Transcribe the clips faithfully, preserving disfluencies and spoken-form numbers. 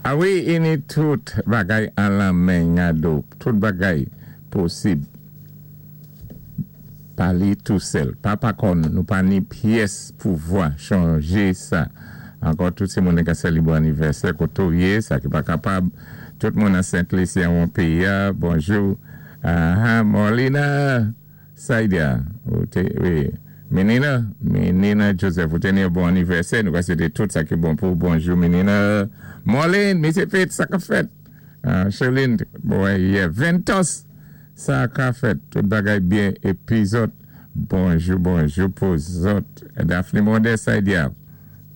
A wi, i ni tout bagay an lanmen Nyado, tout bagay posib. Pa li tou sèl. Pa pa kon, nou pa ni pyès pouvwa chanjé sa. Ankò tout sé moun ka sélébwé anivèsè koto yé, sa ki pa kapab. Tout moun an Sent-Lisi an péyi a, bonjou. Ah, Molina, Saidia, ou té, wi. Menina, Menina Joseph, ou té ni yon bon anivèsè, nou ka swété tout sa ki bon pou bonjou, Menina. Marlene, Misye Fitz, sa ka fèt. Uh, Charlene, bon, yeah, Ventos, sa ka fèt. Tout bagay byen, épi zòt, bonjou, bonjou pou zòt. Daphne Monde, Saidia,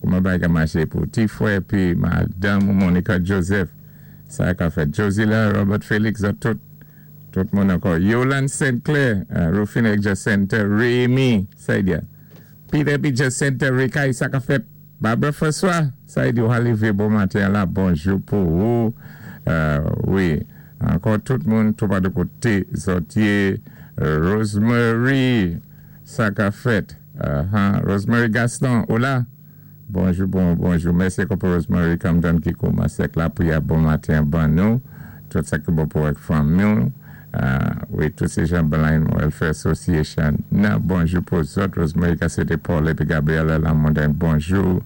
kouman bagay ka maché pou ti fwè, épi Madanm Monica Joseph, sa ka fèt. Josila, Robert Felix, zòt tout, tout moun ankò. Yolande Saint-Clair, uh, Rufine Jacinta, Rémi, Saidia. Peter P. Jacinta, Rikai, sa ka fèt. Barbara François, Saidia, ou lévé bon maten la, bonjou pou ou. Euh, wi, ankò tout moun, tout pa de koté, zòt yé, Rosemary, sa ka fèt. Uh -huh. Rosemary Gaston, ou la? Bonjou, bon, bonjou. Mèsi pou Rosemary Camden ki koumansé lapriyè bon maten, ban nou. Tout sa ki bon pou avèk fanmi. Uh, wi, tout sé jan Blind Welfare Association. Non, bonjou pou zòt. Rosemary ka swété Paul épi Gabriela Lamondin, bonjou.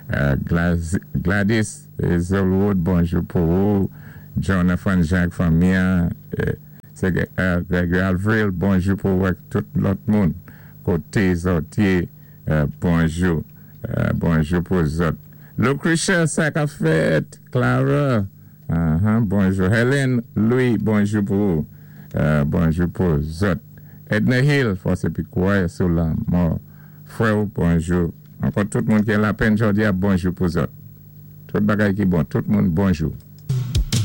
Uh, Glas, Gladys Zolwood, bonjou pou ou. Jonathan Jacques fanmi. Euh, sé euh, Gregory Avril, bonjou pou ou tout lòt moun. Koté zòt yé, euh, bonjou. Euh, bonjou pou zòt. Lucretia, sa ka fèt. Clara, uh-huh, bonjou. Hélène Louis, bonjou pou ou. Euh, bonjou pou zòt. Edna Hill, fòs épi kwè sou lanmò. Frè, bonjou. Ankò tout moun ki an lapenn jòdi a, bonjou pou zòt. Tout bagay ki bon, tout moun bonjou.